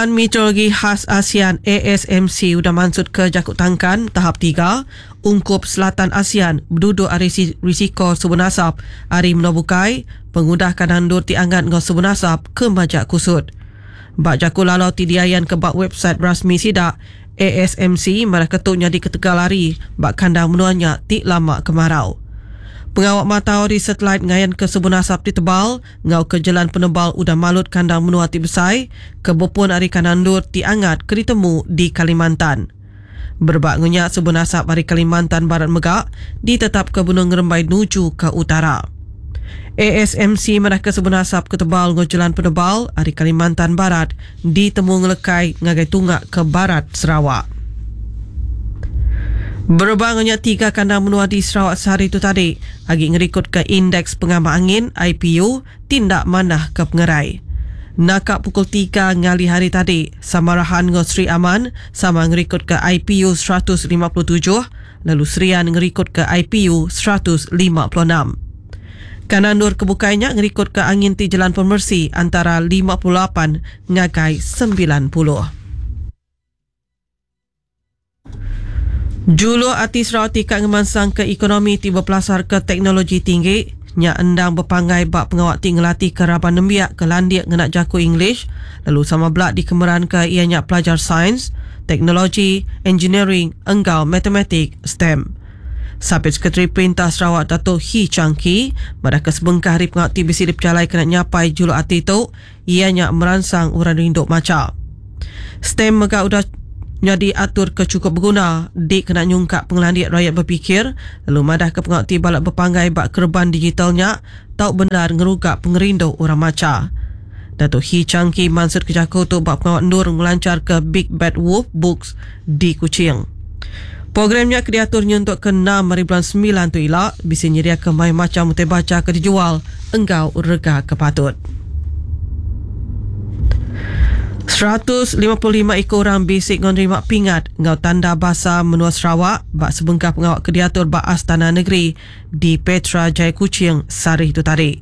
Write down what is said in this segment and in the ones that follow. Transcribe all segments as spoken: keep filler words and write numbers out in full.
Palan Meteorologi Khas ASEAN A S M C udah mansut ke Jakut Tangkan tahap tiga ungkup Selatan ASEAN berduduk ari risiko sebun asap ari menua bukai pengudah kadang endur ti angat ngau sebun asap ke majak kusut. Bak jaku lalau ti diayan ke bak website rasmi sidak A S M C marah ketuk nyadi ketegal hari bak kandang menuanya ti lama kemarau. Pengawak matau di satelit ngayan ke sebun asap ti tebal ngau ke jalan penebal udah malut kandang menua ti besai ke bepun ari kandang endur ti angat ke ditemu di Kalimantan. Berebak ngunyak sebun asap ari Kalimantan Barat megak ditetap ke benung ngerembai nuju ke utara. A S M C madah ke sebun asap ke tebal ngau jalan penebal ari Kalimantan Barat ditemu ngelekai ngagai tunggak ke barat Sarawak. Berebak ngunyak tiga kandang menua di Sarawak sehari tu tadi agi ngerikut ke indeks pengamak angin I P U tindak manah ke pengerai. Nakak pukul tiga ngali hari tadi Samarahan ngau Sri Aman sama ngerikut ke I P U seratus lima puluh tujuh lalu Serian ngerikut ke I P U seratus lima puluh enam. Kanan nur kebukainya ngerikut ke angin ti jalan pemersi antara lima puluh lapan ngagai sembilan puluh. Julu ati Sarawak tika ngemansang ke ekonomi ti berpelasar ke teknologi tinggi nya endang berpanggai bak pengawak ti ngelatih ke raban nembiak ke landik ngena jaku English lalu sama belak dikemeran ke ianya pelajar sains, teknologi, engineering, enggau matematik STEM. Sapit Sekretari Perintah Sarawak Dato' Hii Chang Kee madah ke sebengkah hari pengawak ti bisi diperjalai kena nyapai julu ati tu ianya meransang orang rinduk maca. STEM mega udah jadi atur ke cukup berguna di kena nyungkak pengelandik rakyat berfikir lalu madah ke pengawak ti balak berpanggai bak kerban digitalnya tau benar ngerugak pengerindu orang maca. Dato' Hii Chang Kee mansut ke jaku tu bak pengawak endur ngelancar ke Big Bad Wolf Books di Kuching. Programnya ke diaturnya untuk ke enam hari bulan sembilan tu ila bisa nyeria ke mai macam utai baca ke dijual enggau rega ke patut. seratus lima puluh lima ekor orang bisik menerima pingat ngau tanda bahasa menua Sarawak bak sebengkah pengawak ke diatur bak Astana Negeri di Petra Jaya Kuching sehari itu tadi.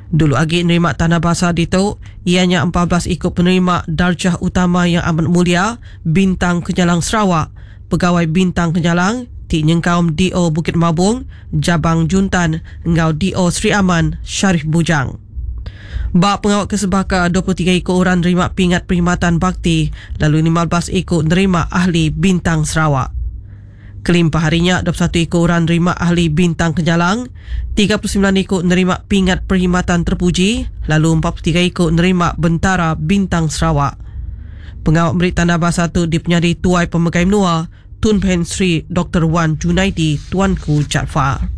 Dulu agi nerima tanda bahasa ditu ianya empat belas ikut penerima darjah utama yang amat mulia Bintang Kenyalang Sarawak, Pegawai Bintang Kenyalang ti nyengkaum D O Bukit Mabung, Jabang Juntan ngau D O Sri Aman Sharif Bujang. Bak pengawak kesebaka dua puluh tiga ekor orang nerima pingat perkhidmatan bakti lalu lima belas ekor nerima ahli Bintang Sarawak. Kelimpah harinya dua puluh satu ekor orang nerima ahli Bintang Kenyalang, tiga puluh sembilan ekor nerima pingat perkhidmatan terpuji lalu empat puluh tiga ekor nerima Bentara Bintang Sarawak. Pengawak beri tanda bahasa tu dipenyadi Tuai Pemegai Menua Tun Pehin Sri Doktor Wan Junaidi Tuanku Jaafar.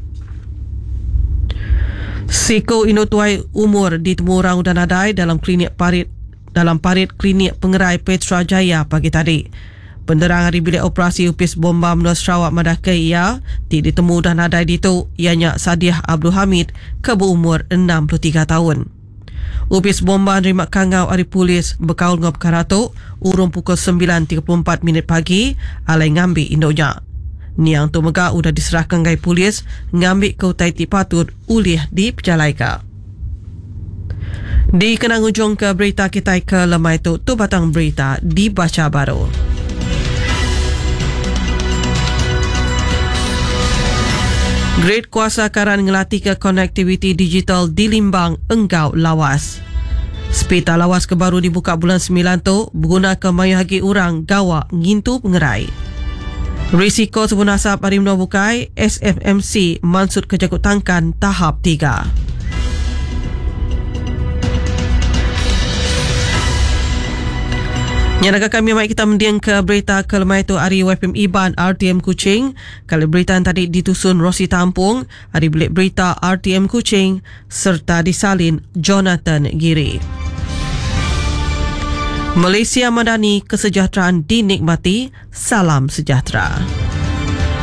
Siko Inu Tuai umur ditemu orang udah nadai dalam klinik parit dalam parit klinik pengerai Petra Jaya pagi tadi. Penderang hari bilik operasi Upis Bomba Menua Sarawak madah ke ia ti ditemu dah nadai ditu ianya Sadiah Abdul Hamid ke berumur enam puluh tiga tahun. Upis Bomba nerima kangau hari polis berkaul ngau perkara tu urung pukul sembilan tiga puluh empat minit pagi alai ngambi induknya. Niang tu mega udah diserahkan gai polis ngambi ke utai ti patut ulih dipejalaika. Di kenang ujung ke berita kita ke lemai tu, tu batang berita dibaca baru. Grid kuasa karan ngelatih ke konektiviti digital di Limbang enggau Lawas. Sepita Lawas ke baru dibuka bulan sembilan tu berguna ke mayuh agi orang gawak ngintu pengerai. Risiko sebun asap hari menua bukai, S F M C mansut ke Jakut Tangkan tahap tiga. Nyanaga kami mai kita mending ke berita ke lemai tu hari W F M Iban R T M Kuching. Kalau berita yang tadi ditusun Rosi Tampung, hari bilik berita R T M Kuching serta disalin Jonathan Giri. Malaysia Madani, kesejahteraan dinikmati, salam sejahtera.